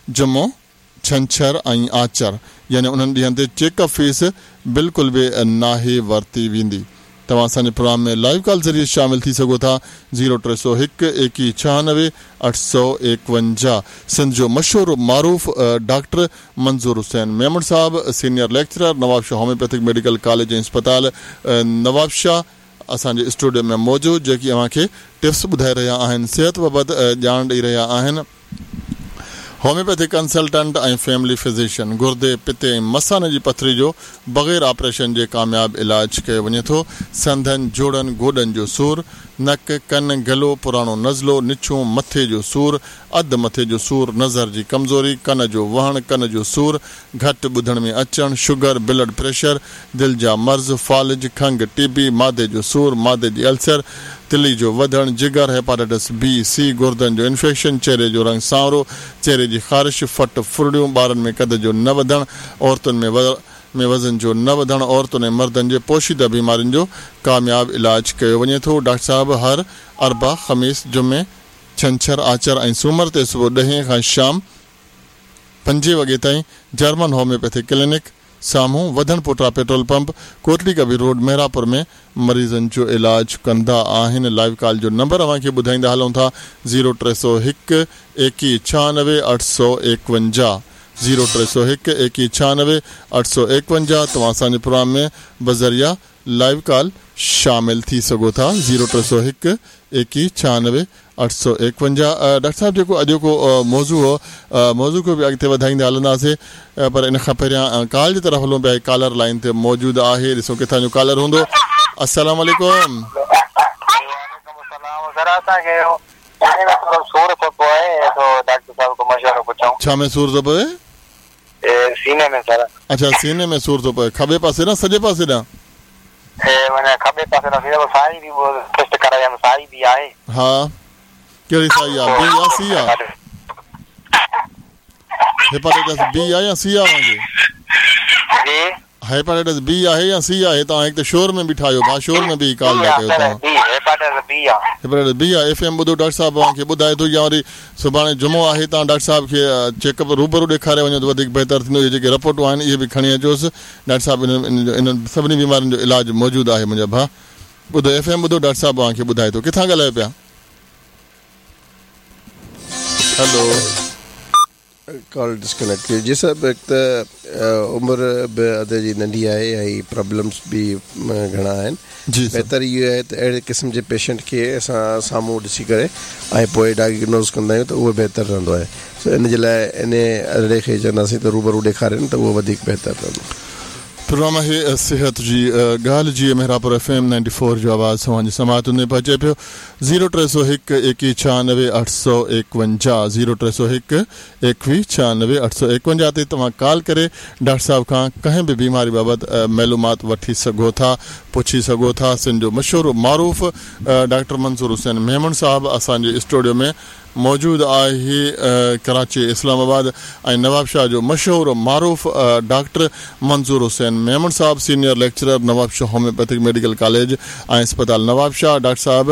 جمعو، ڇنڇر ۽ آچر يعني انهن ڏينهن تي چيڪ اپ فيس بلڪل به ناهي ورتي ويندي. توهان اسان جي پروگرام ۾ لائيو ڪال ذريعي شامل ٿي سگهو ٿا زيرو 301 21 96 851. سنڌ جو مشهور و معروف ڊاڪٽر منظور حسين ميمڻ صاحب senior lecturer Nawabshah homeopathic medical college ۽ اسپتال نوابشاهه اسان جي اسٽوڊيو ۾ موجود جيڪي اوهان کي ٽپس ٻڌائي رهيا آهن صحت بابت ڄاڻ ڏئي رهيا آهن. هوميوپيٿڪ ڪنسلٽنٽ ۽ فيملي فزيشن گردي، پتي ۽ مثاني جي پٿري جو بغير آپريشن جي ڪامياب علاج ڪيو وڃي ٿو. سنڌن، جوڙن، گوڏن جو سور، نڪ، ڪن، گلو، پراڻو نزلو، نڇون، مٿي جو سور، اڌ مٿي جو سور، نظر جي ڪمزوري، ڪن جو وهڻ، ڪن جو سور، گهٽ ٻڌڻ ۾ اچڻ، شگر، بلڊ پريشر، دل جا مرض، فالج، کنگهه، ٽي بي، معدي جو سور، معدي جي السر، تلي جو وڌڻ، جگر، هيپاٽائٽس بي، سي، گردن جو انفيڪشن، چهري جو رنگ سانورو، چهري جي خارش، ڦٽ، ڦرڙيون، ٻارن ۾ قد جو نه وڌڻ، عورتن ۾ ۾ وزن جو نه وڌڻ، عورتن ۽ مردن جي پوشيده بيمارين جو ڪامياب علاج ڪيو وڃي ٿو. ڊاڪٽر صاحب هر اربع، خميس، جمعي، ڇنڇر، آچر ۽ سومر تي صبح ڏهين کان شام پنجين وڳي تائين جرمن هوميوپيٿڪ ڪلينڪ سامهون وڌڻ پوٽا پيٽرول پمپ ڪوٽڙي ڪبير روڊ محرابپور ۾ مريضن جو علاج ڪندا آهن لائيو ڪال جو نمبر اوهان کي ٻڌائيندا هلون ٿا زيرو 301 21 96 851 زيرو 301 21 96 851 توهان اسان جي پروگرام ۾ بذريعه لائيو ڪال شامل ٿي سگهو ٿا زيرو 301 21 96 851. ڊاڪٽر صاحب جيڪو اڄوڪو موضوع هو موضوع کي به اڳتي وڌائيندا هلنداسين پر ان کان پهريان ڪال جي طرف هلون پيا هڪ ڪالر لائين تي موجود آهي ڏسون ڪٿان جو ڪالر هوندو السلام عليڪم. وعليڪم السلام سر اسان کي سيني ۾ ٿورو سور ٿو پوي سو ڊاڪٽر صاحب کان مشورو پڇون. ڇا ۾ سور ٿو پوي؟ سيني ۾ سر. اڇا سيني ۾ سور ٿو پوي کٻي پاسي ڏانهن سڄي پاسي ڏانهن؟ معنيٰ کٻي پاسي ڏانهن ٿيندو سائي به ٽيسٽ ڪرائي آيم سائي به آهي. ها ڪهڙي سائي آ بي آ سي آ؟ هيپاٽائٽس بي آ يا سي آ اوهان کي؟ جي. هيپاٽائٽس بي آهي يا سي آهي توهان هڪ ته شور ۾ بيٺا آهيو ڀاء شور ۾ بيهي ڪال ٿا ڪيو توهان. بي هيپاٽائٽس بي آ. هيپاٽائٽس بي آ ايف ايم ٻڌو ڊاڪٽر صاحب اوهان کي ٻڌائي ٿو يا وري سڀاڻي جمعو آهي توهان ڊاڪٽر صاحب کي چيڪ اپ روبرو ڏيکاري وڃو ته وڌيڪ بهتر ٿيندو اهي جيڪي رپورٽون آهن اهي به کڻي اچوس ڊاڪٽر صاحب انهن سڀني بيمارين جو علاج موجود آهي منهنجا ڀاء ٻڌو ايف ايم ٻڌو ڊاڪٽر صاحب اوهان کي ٻڌائي ٿو ڪٿان ڳالهايو پيا هلو. ڪال ڊسڪنيڪٽ ٿي وئي جي صاحب هڪ ته عمر به ادي جي ننڍي آهي ۽ پرابلمس به گهڻا آهن جي سر. بهتر اهو آهي ته اهڙي قسم جي پيشنٽ کي اسان سامهون ڏسي ڪري ۽ پوء ڊائگنوز ڪندا آهيون ته اهو بهتر رهندو آهي سو ان جي لاء ان ادڙي کي چونداسين ته روبرو ڏيکارين ته اهو وڌيڪ بهتر رهندو. پروگرام آهي صحت جي ڳالهه جي Mehrabpur F M ninety four جو آواز اوهان جي سماعتن ۾ پهچي پيو زيرو 301 21 96 851 زيرو 301 21 96 851 تي توهان ڪال ڪري ڊاڪٽر صاحب کان ڪنهن به بيماري بابت معلومات وٺي سگهو ٿا پڇي سگهو ٿا سنڌ جو مشهور معروف ڊاڪٽر منظور حسين ميمڻ صاحب اسان جي اسٽوڊيو ۾ موجود آهي ڪراچي اسلام آباد ۽ نوابشاهه جو مشهور و معروف ڊاڪٽر منظور حسين ميمڻ صاحب senior lecturer Nawabshah homeopathic medical college ۽ اسپتال نوابشاهه ڊاڪٽر صاحب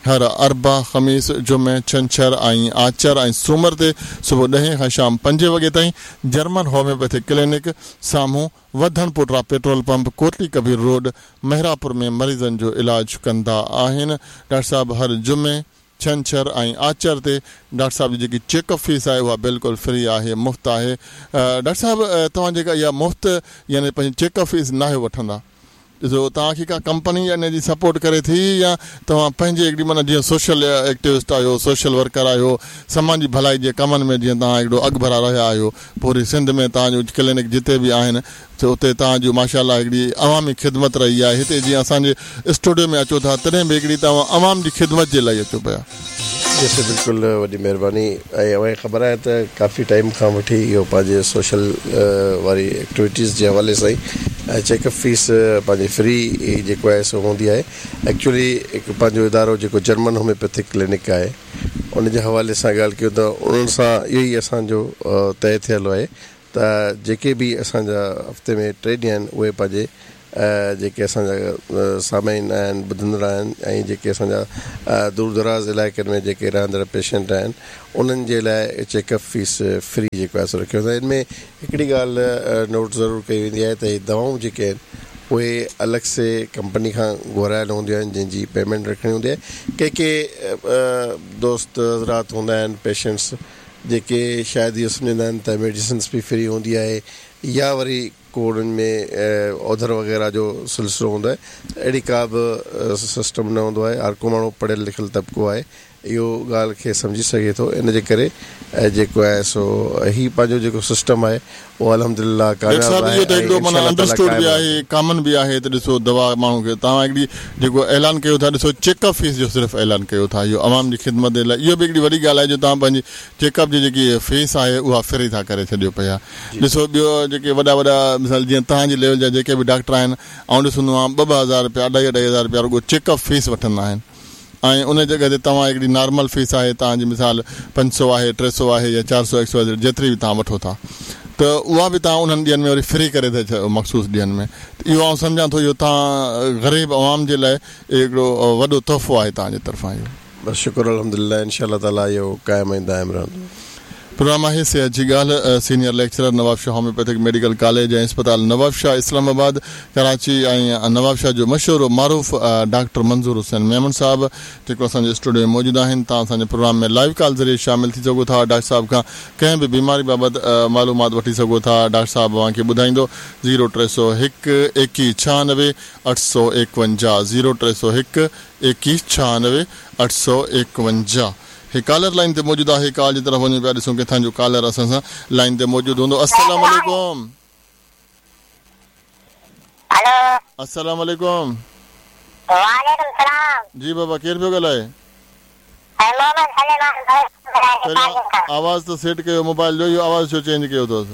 هر اربع خميس جمعي ڇنڇر ۽ آچر ۽ سومر تي صبح ڏهين کان شام پنجين وڳي تائين جرمن هوميوپيٿڪ ڪلينڪ سامهون وڌڻ پوٽا petrol pump Kotli Kabir road Mehrapur ۾ مريضن جو علاج ڪندا آهن ڊاڪٽر صاحب هر جمعي ڇنڇر ۽ آچر تي ڊاڪٽر صاحب جي جيڪي چيڪ اپ فيس آهي اها بلڪل فري آهي مفت آهي ڊاڪٽر صاحب توهان جيڪا اها مفت يعني پنهنجي چيڪ اپ فيس ناهيو وٺندا ڏسو توهان کي ڪا ڪمپني ان جي سپورٽ ڪري ٿي يا توهان پنهنجي هڪڙي معنيٰ جيئن سوشل ايڪٽيوسٽ آهيو سوشل ورڪر آهيو سماجي ڀلائي جي ڪمن ۾ جيئن توهان هڪڙو اڳڀرا رهيا آهيو پوري سنڌ ۾ توهان جون ڪلينڪ جتي به آهن ته اتي توهان جون ماشاء الله هڪڙي عوامي خدمت رهي آهي هتي جيئن اسان جي اسٽوڊيو ۾ اچو ٿا تڏهن به هڪڙي توهان عوام جي خدمت جي لاء ئي اچو پيا. جي سر بلڪل وڏي مهرباني ۽ اوهان کي خبر آهي ته ڪافي ٽائيم کان وٺي اهو پنهنجي سوشل واري ايڪٽيوٽيز جي حوالي سان ئي ۽ چيڪ اپ فيس پنهنجي فري جيڪو آهي سو هوندي آهي ايڪچولي هڪ پنهنجو ادارو جيڪو جرمن هوميوپيٿڪ ڪلينڪ آهي ان جي حوالي سان ڳالهه ڪيون ته انهن سان اهو ئي اسان جو طئي ٿيل آهي ته جيڪي به اسان جا هفتي ۾ ٽي ڏينهن آهن اهي پنهنجي جيڪي اسان جا سامعين آهن ٻڌندڙ آهن ۽ جيڪي اسان جا دور دراز علائقن ۾ جيڪي رهندڙ پيشنٽ آهن انهن جي لاء چيڪ اپ فيس فري جيڪو آهي سو رکيو ويندو آهي ان ۾ هڪڙي ڳالهه نوٽ ضرور ڪئي ويندي آهي ته هي دوائون جيڪي آهن اهي الڳ سي ڪمپني کان گهرايل هونديون آهن جنهن جي پيمينٽ رکڻي هوندي آهي ڪي ڪي دوست حضرات هوندا آهن پيشنٽس جيڪي شايد اهو سمجهندا آهن ته ميڊيسنس به فري هوندي آهي يا وري ڪو انهن ۾ اوڌر وغيره جو سلسلو هوندو آهي ته اهڙي ڪا به سسٽم نه هوندو آهي هر ڪو ماڻهو پڙهيل لکيل طبقو آهي اهو ڳالهه کي سمجهي سگهي ٿو ان جي ڪري جيڪو آهي سو هي پنهنجو جيڪو سسٽم آهي اهو الحمدلله ڊاڪٽر ڪامياب صاحب آهي اهو ته ۽ هڪڙو انشاء معنيٰ الله تعاليٰ انڊرسٽوڊ قائم به رهندو. آهي ڪامن به آهي ته ڏسو دوا ماڻهو کي توهان هڪڙي جيڪو اعلان ڪيو ٿا ڏسو چيڪ اپ فيس جو صرف اعلان ڪيو ٿا اهو عوام جي خدمت جي لاء اهو به هڪڙي وڏي ڳالهه آهي جو توهان پنهنجي چيڪ اپ جي جيڪي فيس آهي اها فري ٿا ڪري ڇڏيو پيا ڏسو ٻيو جيڪي وڏا وڏا مثال جيئن توهان جي ليول جا جيڪي به ڊاڪٽر آهن آئون ڏسندو آهيان ٻه ٻه هزار رپيا اڍائي اڍائي هزار رپيا رڳو چيڪ اپ فيس وٺندا آهن ۽ ان جڳهه تي توهان هڪڙي نارمل فيس آهي توهان جي مثال 500 آهي 300 آهي يا 400 ايڪس وائي زيڊ جيتري به توهان وٺو ٿا ته اها به توهان انهن ڏينهن ۾ وري فري ڪري ٿا ڇڏيو مخصوص ڏينهن ۾ ته اهو آئون سمجهان ٿو اهو توهان غريب عوام جي لاء هڪڙو وڏو تحفو آهي توهان جي طرفان اهو. بس شڪر الحمدلله انشاء الله تعالي اهو قائم ۽ دائم رهندو. پروگرام آهي صحت جي ڳالهه senior lecturer Nawabshah homeopathic medical college ۽ اسپتال نوابشاهه اسلام آباد ڪراچي ۽ نوابشاهه جو مشهور و معروف ڊاڪٽر منظور حسين ميمڻ صاحب جيڪو اسان جي اسٽوڊيو ۾ موجود آهن توهان اسان جي پروگرام ۾ لائيو ڪال ذريعي شامل ٿي سگهو ٿا ڊاڪٽر صاحب کان ڪنهن به بيماري بابت معلومات وٺي سگهو ٿا ڊاڪٽر صاحب اوهان کي ٻڌائيندو زيرو 301 21 96 851 زيرو 301 21 96 851 هي ڪالر لائين تي موجود آهي ڪال جي طرف وڃون پيا ڏسون ڪٿان جو ڪالر اسان سان لائين تي موجود هوندو السلام عليڪم. هلو. السلام عليڪم. وعليڪم السلام. جي بابا ڪير پيو ڳالهائي؟ سائين محمد سليمان بلوچ پيو ڳالهائي پهريان ڏيپارجن کان. آواز ته سيٽ ڪيو موبائل جو اهو آواز ڇو چينج ڪيو اٿس.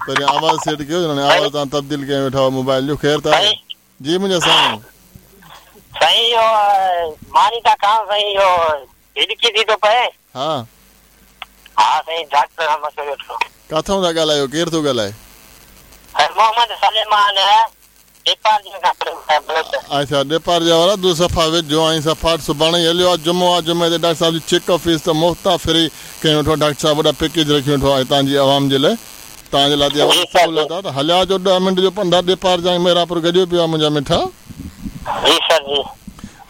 پهريان آواز سيٽ ڪيو هاڻي آواز توهان تبديل ڪيون ويٺا آهيو موبائل جو خير ته آهي جي منهنجا سائين. سائين اهو ماني ٿا کائون سائين اهو هڏڪي ٿي ٿو پئي. ها. ها سائين ڊاڪٽر کان مشورو وٺڻو. ڪاٿئون ٿا ڳالهايو ڪير ٿو ڳالهائي. سائين محمد سليمان اڇا ڏيپارجا وارا تون صفا ويجهو آهين صفا سڀاڻي ئي هليو آ جمعو آ جمعي تي ڊاڪٽر صاحب جي چيڪ اپ فيس ته مفت آ فري ڪيون ويٺو آ ڊاڪٽر صاحب وڏا پيڪيج رکيون ويٺو آ هتان جي عوام جي لاء توهان جي لاء ته اها وڏي سهولت آ ته هليا اچو ڏهه منٽ جو پنڌ آ ڏيپارجا ۽ محرابپور گڏيو پيو آ منهنجا مٺا. جي سر جي.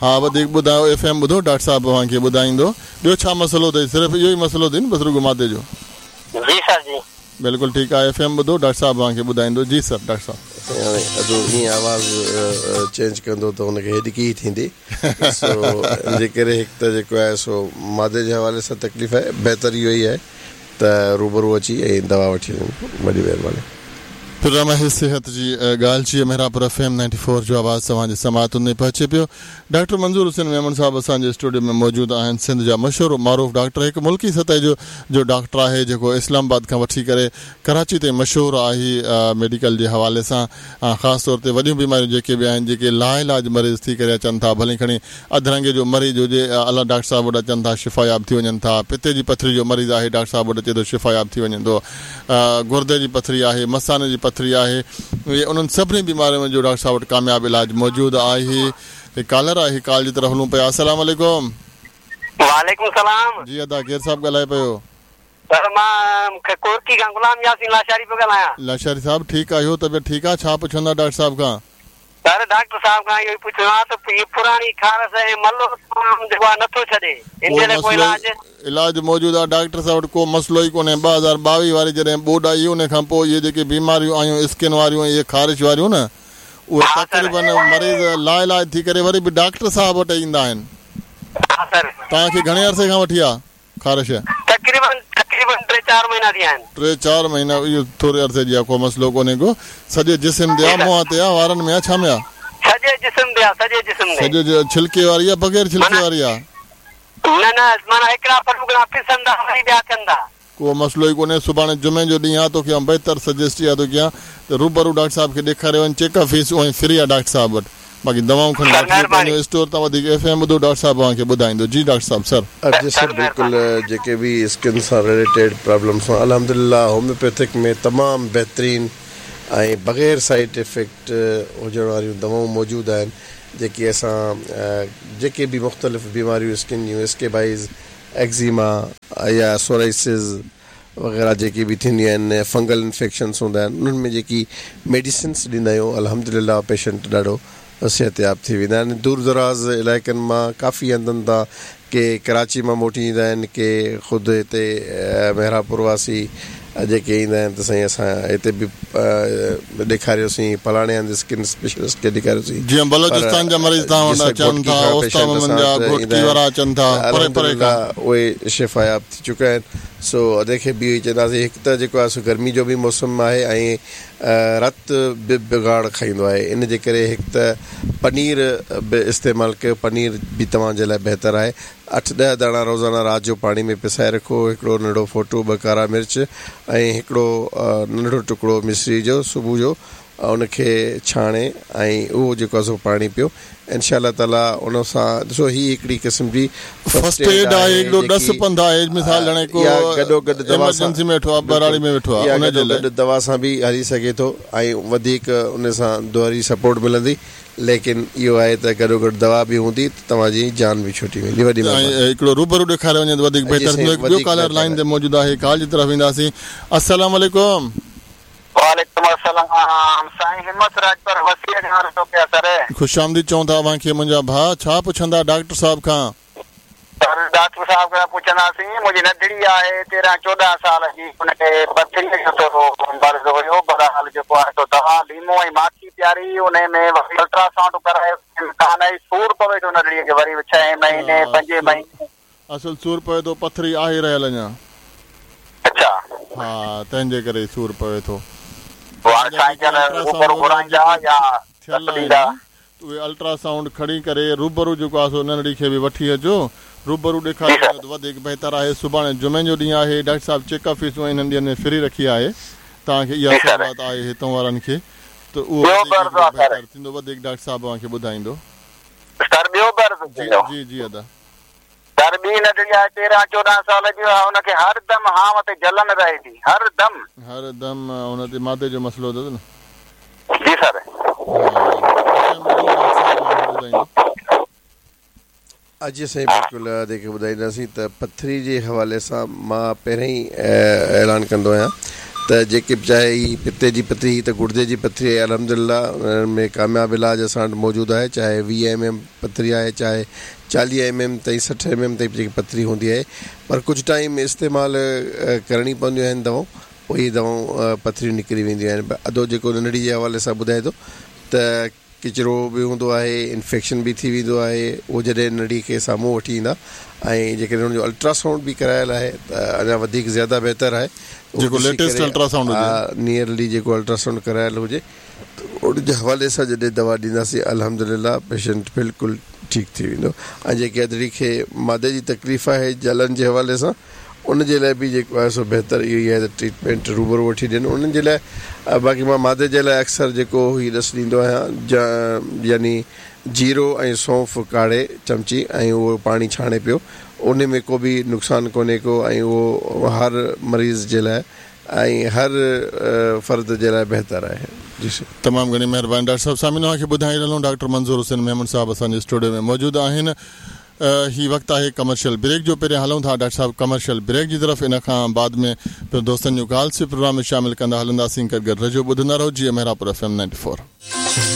ها وڌيڪ ٻڌايو ايف ايم ٻڌو ڊاڪٽر صاحب اوهان کي ٻڌائيندو ٻيو ڇا مسئلو اٿئي صرف اهو ئي مسئلو اٿئي نه بس رڳو معدي جو. جي سر جي. بلڪل ٺيڪ آ ايف ايم ٻڌو ڊاڪٽر صاحب اوهان کي ٻڌائيندو جي سر ڊاڪٽر صاحب. سائين هاڻي ادو ائين آواز چينج ڪندو ته هن کي هڏڪي ئي ٿيندي سو ان جي ڪري هڪ ته جيڪو آهي سو معدي جي حوالي سان تڪليف آهي بهتر اهو ئي آهي ته روبرو اچي ۽ دوا وٺي وڃن وڏي مهرباني. پروگرام آهي صحت جي ڳالهه جي Mehrabpur F M ninety four جو آواز توهان جي سماعتن تائين پهچي پيو ڊاڪٽر منظور حسين ميمڻ صاحب اسان جي اسٽوڊيو ۾ موجود آهن سنڌ جا مشهور و معروف ڊاڪٽر هڪ ملڪي سطح جو جو ڊاڪٽر آهي جيڪو اسلام آباد کان وٺي ڪري ڪراچي تائين مشهور آهي ميڊيڪل جي حوالي سان خاص طور تي وڏيون بيماريون جيڪي به آهن جيڪي لاعلاج مريض ٿي ڪري اچن ٿا ڀلي کڻي اڌرنگي جو مريض هجي الله ڊاڪٽر صاحب وٽ اچن ٿا شفاياب ٿي وڃن ٿا پتي جي پٿري جو مريض آهي ڊاڪٽر صاحب وٽ اچي ٿو شفاياب ٿي وڃي ٿو گردي جي پٿري آهي مثاني جي پٿري آهي اهي انهن سڀني بيمارين جو ڊاڪٽر صاحب وٽ ڪامياب علاج موجود آهي هي ڪالر آهي ڪال جي طرف هلون پيا السلام عليڪم. وعليڪم السلام. جي ادا ڪير صاحب ڳالهائي پيو. سر مان ڪورڪي کان غلام ياسين لاشاري پيو ڳالهايان. لاشاري صاحب ٺيڪ آهيو طبيعت ٺيڪ آ ڇا پڇندا ڊاڪٽر صاحب کان. سر ڊاڪٽر صاحب کان اهو ئي پڇڻو آ ته هي پراڻي خارس ۽ ملو تمام جيڪو آ نٿو ڇڏي ان جي لاء ڪو علاج. علاج موجود آ ڊاڪٽر صاحب وٽ ڪو مسئلو ئي ڪونهي 2022 واري جڏهن ٻوڏ آئي ان کان پوء اهي جيڪي بيماريون آيون اسڪن واريون ۽ اهي خارش واريون نه اهي تقريبن مريض لاعلاج ٿي ڪري وري به ڊاڪٽر صاحب وٽ ايندا آهن. توهان کي گهڻي عرصي کان وٺي آ خارش؟ تقريبن تقريبن ٽي چار مهينا ٿي ويا آهن. ٽي چار مهينا اهو ٿوري عرصي جي آ ڪو مسئلو ڪونهي ڪو سڄي جسم تي آ منهن تي آ وارن ۾ آ ڇا ۾ آ؟ سڄي جسم تي آ سڄي جسم تي. سڄي ڇلڪي واري آ بغير ڇلڪي واري آ؟ نه نه معنيٰ هڪڙا ڦلوڪڙا پسن ٿا وري ٻيا ٿين ٿا. ڪو مسئلو ئي ڪونهي سڀاڻي جمعي جو ڏينهن آ توکي آئون بهتر سجيسٽ اها ٿو ڪيان ته روبرو ڊاڪٽر صاحب کي ڏيکاري وڃ چيڪ اپ فيس اونئي فري آ ڊاڪٽر صاحب وٽ باقي دوائون کڻي سر وٺجو مهرباني. پنهنجو اسٽور تان وڌيڪ ايف ايم ٻڌو ڊاڪٽر صاحب اوهان کي ٻڌائيندو جي ڊاڪٽر صاحب سر. جي سر بلڪل جيڪي به اسڪن سان رليٽيڊ پرابلمس آهن الحمدلله هوميوپيٿڪ ۾ تمام بهترين ۽ بغير سائيڊ افيڪٽ هجڻ واريون دوائون موجود آهن جيڪي اسان جيڪي به مختلف بيماريون اسڪن جون اسڪيبائيز، ايگزيما يا سورائسز وغيره جيڪي به ٿينديون آهن فنگل انفيڪشنس هوندا آهن انهن ۾ جيڪي ميڊيسنس ڏيندا آهيون الحمدلله پيشنٽ ڏاڍو صحتياب ٿي ويندا آهن دور دراز علائقن مان ڪافي هنڌن تان ڪي ڪراچي مان موٽي ايندا آهن ڪي خود هتي محرابپور واسي جيڪي ايندا آهن ته سائين اسان هتي به ڏيکاريوسين فلاڻي هنڌ اسڪن اسپيشلسٽ کي ڏيکاريوسين جيئن پر بلوچستان جا مريض توهان جي وٽ سر اچن گهوٽڪي ٿا کان اوستا پيشنٽ محمد اسان جا وٽ ايندا گهوٽڪي آهن وارا اچن ٿا ته پري پري الحمدلله کان. اهي شفاياب ٿي چڪا آهن سو ادي کي به اهو ئي چونداسين هڪ ته جيڪو آهي سو گرمي جو به موسم آهي ۽ رت به بگاڙ کائيندو آهي ان جي ڪري هڪ ته پنير به استعمال ڪيو پنير به توهان جي لاء بهتر آهي اٺ ڏهه داڻا روزانه رات جو پاڻي ۾ پسائي رکو هڪڙو ننڍڙو ڦوٽو ٻه ڪارا مرچ ۽ هڪڙو ننڍڙو ٽڪڙو مصري جو صبح جو ان کي ڇاڻي ۽ اهو جيڪو آهي سو پاڻي پيو انشاء الله تعالي ان سان ڏسو هي هڪڙي قسم جي فرسٽ ايڊ آهي هڪڙو ڏس پنڌ آهي مثال هاڻي ڪو يا گڏو گڏ دوا سان ايمرجنسي ۾ ويٺو آهي ٻهراڙي ۾ ويٺو آهي يا ان جي گڏو لاء گڏ دوا سان به هلي سگهي ٿو ۽ وڌيڪ ان سان دوري سپورٽ ملندي ليڪن اهو آهي ته گڏو گڏ دوا به هوندي ته توهان جي جان به ڇٽي ويندي وڏي ۽ مهرباني. هڪڙو روبرو ڏيکاريو وڃي ته وڌيڪ جي بهتر سائين ٿيندو هڪ ٻيو وڌيڪ ڪالر بهتر لائين آهي. تي موجود آهي ڪال جي طرف وينداسين السلام عليڪم. وعليڪم السلام سائين همت راڄپر وسيع کان عرض ٿو ڪيان سر. خوش آمديد چئون ٿا اوهان کي منهنجا ڀاء ڇا پڇندا ڊاڪٽر صاحب کان. سر ڊاڪٽر صاحب کان پڇنداسين منهنجي ننڍڙي آهي تيرهن چوڏهن سال جي ان کي پٿري جو ٿورو مرض هيو بهرحال جيڪو آهي سو دوا ليمو ۽ ماکي پياري انهي ۾ وري الٽراسائونڊ ڪرايو ڪانه آئي سور پوي ٿو ننڍڙي کي وري ڇهين مهيني پنجين مهيني. اصل سور پوي ٿو پٿري آهي رهيل اڃا. اڇا. ها تنهن جي ڪري سور پوي ٿو. پوء هاڻي توهان جا سائين جيڪي جن الٽراسائونڊ روبرو وغيره گهرائيندا جيڪي يا ٿيل ڏس آهن ڏيندا. ته اهي الٽراسائونڊ کڻي ڪري روبرو جيڪو آهي سو ننڍڙي کي به وٺي اچو روبرو جي ڏيکاريو سر. وڃو ته وڌيڪ بهتر آهي سڀاڻي جمعي جو ڏينهن آهي ڊاڪٽر صاحب چيڪ اپ فيسون انهن ڏينهن ۾ فري رکي آهي توهان کي اها جي سر. سهولت آهي هتون وارن کي ته اهو ٻيو وڌيڪ به عرض هڪڙو آهي سر. بهتر ٿيندو وڌيڪ ڊاڪٽر صاحب اوهان کي ٻڌائيندو. سر ٻيو به عرض جي ٿيندو. جي جي ادا. سر ٻي ننڍڙي آهي تيرهن چوڏهن سال جي اها ان کي هر دم هانء تي جلن رهي ٿي هر دم. هر دم ان تي معدي جو مسئلو اٿس نه. جي سر. ها اچا ٻڌو ڊاڪٽر صاحب اوهان کي ٻڌائيندو. جي سائين بلڪل ادي کي ٻڌائينداسين ته پٿري جي حوالي سان مان پهرين ئي اعلان ڪندو آهيان ته جيڪي به چاهي هي پتي جي پٿري هي ته گڙدي جي پٿري آهي الحمدلله انهن ۾ ڪامياب علاج اسان وٽ موجود آهي چاهي 20 ايم ايم پٿري آهي چاهي 40 ايم ايم تائين 60 ايم ايم تائين جيڪي پٿري هوندي آهي پر ڪجهه ٽائيم استعمال ڪرڻي پونديون آهن دوائون پوء اهي دوائون پٿريون نڪري وينديون آهن ادو جيڪو ننڍڙي جي حوالي سان ٻڌائي ٿو ته ڪچرو به هوندو آهي انفيڪشن به ٿي ويندو آهي اهو جڏهن ننڍڙي کي سامهون وٺي ايندا ۽ جيڪڏهن ان جو الٽراسائونڊ به ڪرايل آهي ته اڃا وڌيڪ زياده بهتر آهي جيڪو ليٽيسٽ الٽراسائونڊ هجي نيئرلي جيڪو الٽراسائونڊ ڪرايل هجي ته ان جي حوالي سان جڏهن دوا ڏينداسين الحمدلله پيشنٽ بلڪل ٺيڪ ٿي ويندو ۽ جيڪي ادڙي کي معدي جي تڪليف آهي جلن جي حوالي سان ان جي لاء به جيڪو آهي سو بهتر اهو ئي آهي ته ٽريٽمينٽ روبرو وٺي ڏين انهن جي لاء باقي مان معدي جي لاء اڪثر جيڪو هي ڏس ڏيندو آهيان يعني جيرو ۽ سونف ڪاڙهي چمچي ۽ اهو پاڻي ڇاڻي پيو ان ۾ ڪو به نقصان ڪونهي ڪو ۽ اهو هر مريض جي لاء ۽ هر فرد جي لاء بهتر آهي. جي سر. تمام گهڻي مهرباني ڊاڪٽر صاحب سامعين اوهان کي ٻڌائي رهيا ڊاڪٽر منظور حسين ميمڻ صاحب اسان جي اسٽوڊيو ۾ موجود آهن هي وقت آهي ڪمرشل بريڪ جو پهريان هلون ٿا ڊاڪٽر صاحب ڪمرشل بريڪ جي طرف ان کان بعد ۾ پڻ دوستن جون ڪالس به پروگرام ۾ شامل ڪندا هلنداسين گڏ گڏ رهجو ٻڌندا رهو جي محرابپور ايف ايم 94.